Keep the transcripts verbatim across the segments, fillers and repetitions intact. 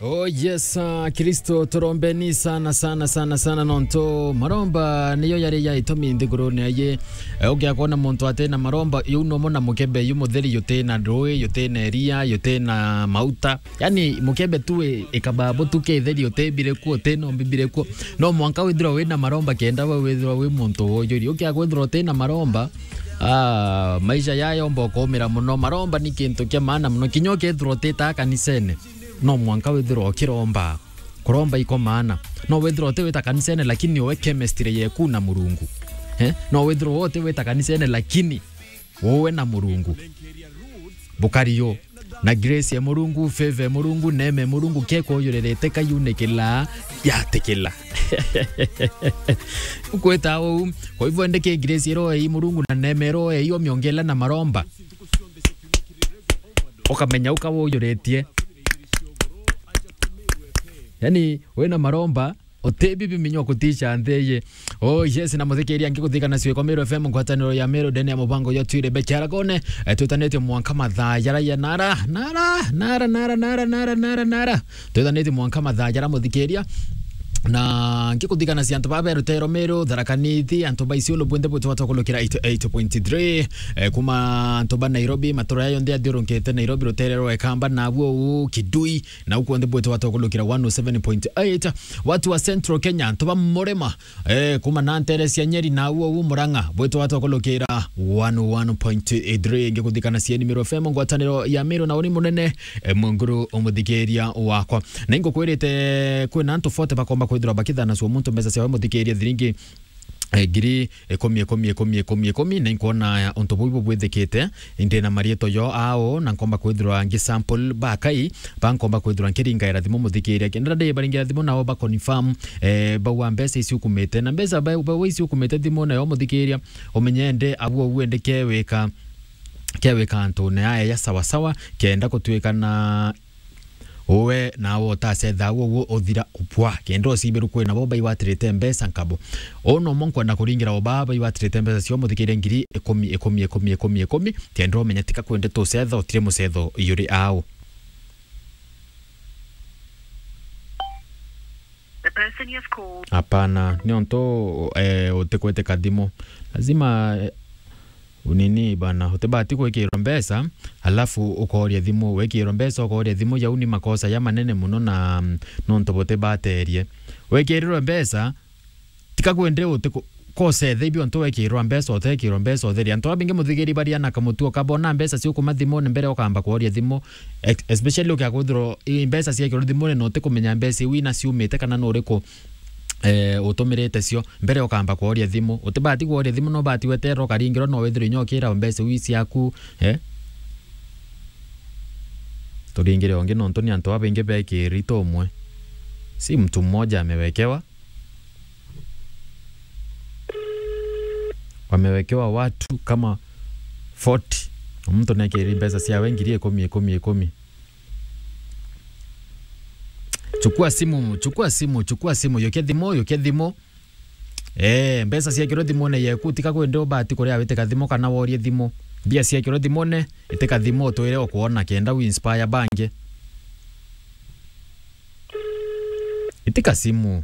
Oh yes, ah, Kristo turombeni sana, sana, sana, sana, nontu maromba niyo yari ya itumi nthigurune aye. Eh, ugiakwona muntu ati na maromba, yu nomo na mukebe yu mutheri, yuti na ndui, yuti na iria, yuti na mauta. Yani, mukebe tu i-, ikababu tu kitheri, utibire kuo, uti nombi bire kuo. No mwanka withirwa wina maromba kenda we withirwa wi muntu wojuri. Ukiaga kwithirwa uti na maromba, ah, maisha yayomba ukumira muno. Maromba ni kintu kia maana muno. Kinya ukethirwa utitaga kanisene, no mwanka withirwa ukiromba. Kuromba iko maana. No withirwa uti wita kanisene, lakini uwe chemistry yeku na Murungu. Eh? No withirwa uti wita kanisene, lakini uwe na Murungu. Bukari yo. Na grace ya Murungu, favor ya Murungu, neema ya Murungu, kekuyuririte kayunikila, yatikila. Ukwita uu, kwa hivyo ndeke grace iro ei Murungu na neema iro ei omiongela na maromba. Ukamenya ukawuyuritie. Yani, wina maromba, uti bibi minyo kutisha ntheye. Oh yes, na muthikiria ngikuthikana Ciuko Meru F M, ngwataniro ya Meru, ndene ya mubango ya Twire Bekiaragone. Eh, twitanitie mwanka mathaa jara ya nara, nara, nara. Twitanitie mwanka mathaa jara muthikiria. Na ngikuthikana cia antu ba Beru, Tero Meru, Tharaka Nithi, antu ba Isiolo bwinthe bwitwa twakulukira eighty-eight point three. Eh, kuma antu ba Nairobi, matura yayo nthe athiurunkite Nairobi, rutere rwa Ekamba, na abuo u Kidui, na ukuo nthi bwitwa twakulukira one oh seven point eight. Watu wa Central Kenya, antu ba Murima, eh, kuma na ntere cia Nyeri na uo u Murang'a, bwitwa twakulukira one oh one point three. Ngikuthikana cieni Meru F M, ngwataniro ya Meru na uni munene, eh, munguru umuthikiria wakwa. Na ingukwirite kwina antu forty bakomba kwithirwa bakithana cio muntu mbeca ciao muthikiria thiringi eh, ngiri ikumi, ikumi, ikumi, ikumi, ikumi, na inkwona untu buu bubwithikite, indi na marietwa jo ao, na nkomba kwithirwa ngi sample bakai, ba nkomba kwithirwa nkiringaira thimu muthikiria. Kenda ndi baringira thimu nao ba confirm, eh, bauga mbeca ici ukumite. Na mbeca ba, ba, ici ukumite thimu nayo muthikiria, umenye ndi abu uende kewika, kewika antu ne aya ya sawa sawa, kenda kutwika na Uwe nawe utacetha uguo uthira upwa. Kenda ucibiru kwina bo baiwatirite mbeca nkabo. Uu nomo nkwenda kuringira o baa baiwatirite mbeca cio muthikirie ngiri ikumi, ikumi, ikumi, ikumi, ikumi. Kenda umenya tika kwende tucetha utire mucetho yuri au. The person you have called. Hapana, niontu, eh, utikwete kathimu. Lazima, eh, Unini bana, utibati gwikirwa mbeca, alafu ukooria thimu. Wikirwa mbeca, ukooria thimu, jau ni makosa ja manene muno na, mm, nontu butibaterie. Wikirirwe mbeca, tika kwende uti ku-, kose the ibio ntu wekirwa mbeca, utekirwa mbeca utheria. Antu abingi muthigiri baria na kamutuo kabona mbeca ciukuma thimune mbere ukamba kooria thimu, ex-, especially ukiakwithirwa i mbeca ciekirwa thimune na utikumenya mbeca iu ina ciumite kana nuriku eh, utumirite cio, mbere ukamba kworia thimu. Utibati kworia thimu, no bati weterera ukaringirwa, no withirwe inya ukira mbeca iu ciaku, eh? Turingire ungi nontu ni antu babaingi bekirite umwe. Si mtu mmoja amewekewa. Wamewekewa watu kama forty. Mtu nekiri mbeca ciawe ngiri ikumi, ikumi, ikumi. Chukua simu, chukua simu, chukua simu, yukia thimu, yukia thimu. Eh, mbeca ciekirwe thimune yeku, tika kwende ubati kuria witika thimu kana worie thimu. Mbia ciekirwe thimune, itika thimu utwire ukwona kenda u inspire bangi. Itika simu.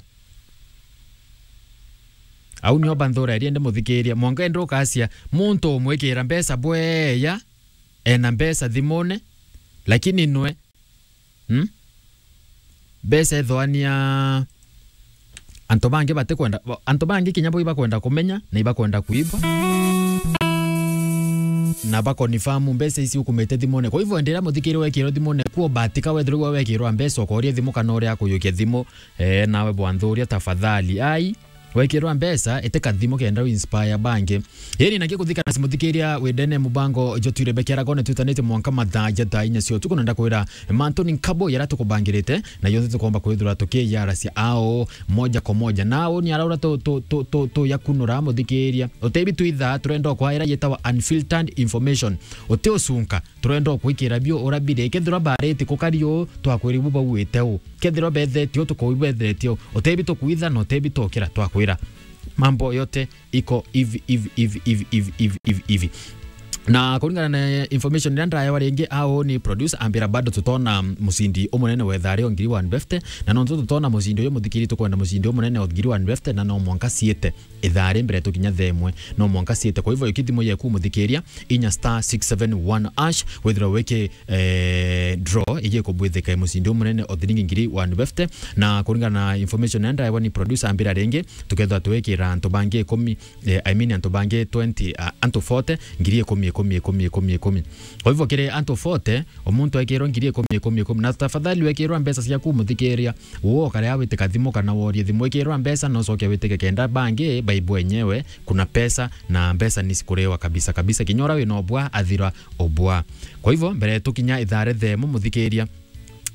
Au nio banthura iria ndi muthikiria. Mwanka ende ukacia, muntu umwikira mbeca bweya, ena mbeca thimune, lakini nwe, hmm? Mbeca ethwania antu bangi batikwenda, antu bangi kinya bo ibakwenda kumenya, na ibakwenda kuiba. Na ba confirm mbeca ici ukumite thimune. Kwa hivyo, enderea muthikiri wekirwe thimune, kuo batika wethirwe wekirwa mbeca, ukoria thimu kana uria akuyukia thimu, eh, nawe bwanthuria tafadhali. Ai, wekirwa mbeca, itika thimu kenda u inspire bangi. Iri na gikuthikana simuthikiria wendene mubango jotwire bekeragone twitanite mwanka mathaa ja thaa inya cia utuku, na ndakwira mantu ni nkabo yara tukubangirite, na yonthe tukomba kwithirwa tukiyaracia ao moja kwa moja. Na uni araura tu, tu, tu, tu, tu yakunura muthikiria. Utebi twitha turenda kwaira yetawa unfiltered information. Uti ucunka, turenda kwikira bio urabire. Kethira bariti kukari u, twakwiri bu bauite u. Kethira bethetie u, tukuibethetie u. Utebi tukwitha na utebi tukira, twakwira. Mambo yote iko hivi, hivi, hivi. Na kuringana na information iria ndaewa ringi, au ni producer ambira bado tutona mucindi umunene wa ithari o ngiri one fifty, na nontu tutona mucindi uyu muthikiri, tukwenda mucindi umunene o ngiri one fifty, na no mwanka ciite ithari mbere tukinya themwe, no mwanka ciite. Kwa hivyo, ikithimo yeku muthikiria, inya star six seven one hash, withirwa wiki eh, draw igie kubwithika mucindi umunene o thiringi ngiri one fifty, na kuringana na information iria ndaewa ni producer ambira ringi, tukethwa twikira antu bangi ikumi, eh, I mean, antu bangi twenty, ah, antu forty, ngiri ikumi, ikumi, ikumi, ikumi, ikumi. Kwa hivyo, kiri antu forty, o muntu ekirwa ngiri ikumi, ikumi, ikumi. Na tafadhali, wekirwa mbeca ciaku, muthikiria, wo ukarea witike thimu kana worie thimu, wekirwa mbeca, na ucoke witike kenda bangi baibu enyewe, kuna pesa, na mbeca ni cikurewa kabisa kabisa. Kinya uria wina obwa, athira obwa. Kwa hivyo, mbere tukinya ithare themu, muthikiria,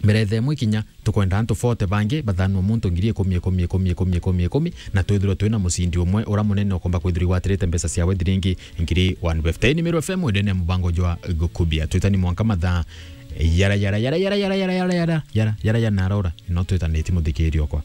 mbere themu ikinya, tukwenda antu forty bangi bathanwa muntu ngiri ikumi, ikumi, ikumi, ikumi, ikumi, ikumi, na twithirwe twina mucindi umwe ura munene ukomba kwithirwa igwatirite mbeca ciawe thiringi ngiri one fifty. Ni Meru F M, ndene ya mubango jwa Gukubia. Twitani mwanka mathaa yara, yara, yara, yara, yara, yara, yara, yara, yara, yara, yara, na arora, no twitanitie muthikiri okwa.